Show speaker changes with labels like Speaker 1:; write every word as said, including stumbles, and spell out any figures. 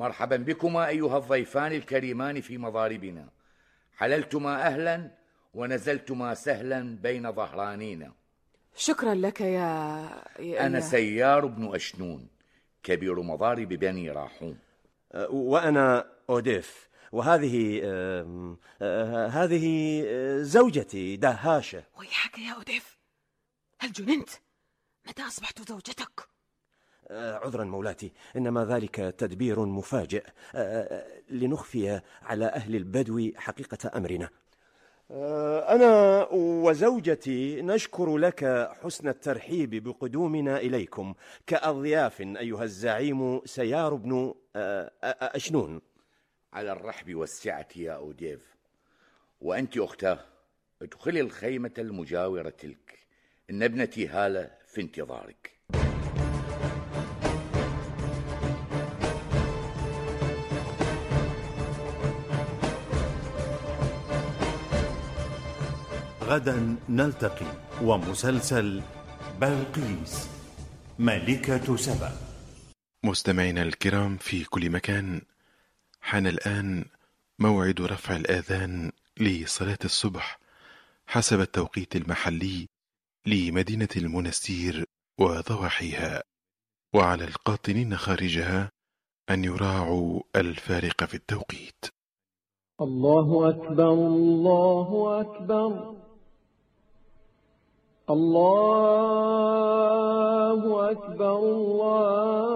Speaker 1: مرحبا بكما أيها الضيفان الكريمان في مضاربنا. حللتما أهلا ونزلتما سهلا بين ظهرانينا.
Speaker 2: شكرا لك يا, يا
Speaker 1: أنا سيار بن أشنون، كبير مضارب بني راحوم.
Speaker 3: وأنا أوديف، وهذه آه آه هذه زوجتي دهاشة.
Speaker 2: ويحك يا أوديف، هل جننت؟ متى أصبحت زوجتك؟
Speaker 3: آه عذرا مولاتي، إنما ذلك تدبير مفاجئ آه لنخفي على أهل البدو حقيقة أمرنا. آه أنا وزوجتي نشكر لك حسن الترحيب بقدومنا إليكم كأضياف أيها الزعيم سيار بن آه أشنون.
Speaker 1: على الرحب والسعة يا أوديف. وأنت أختاه، ادخلي الخيمة المجاورة تلك، إن ابنتي هالة في انتظارك.
Speaker 4: غدا نلتقي ومسلسل بلقيس ملكة سبأ.
Speaker 5: مستمعينا الكرام في كل مكان، حان الآن موعد رفع الآذان لصلاة الصبح حسب التوقيت المحلي لمدينة المنستير وضواحيها، وعلى القاطنين خارجها أن يراعوا الفارق في التوقيت.
Speaker 6: الله أكبر، الله أكبر، الله أكبر، الله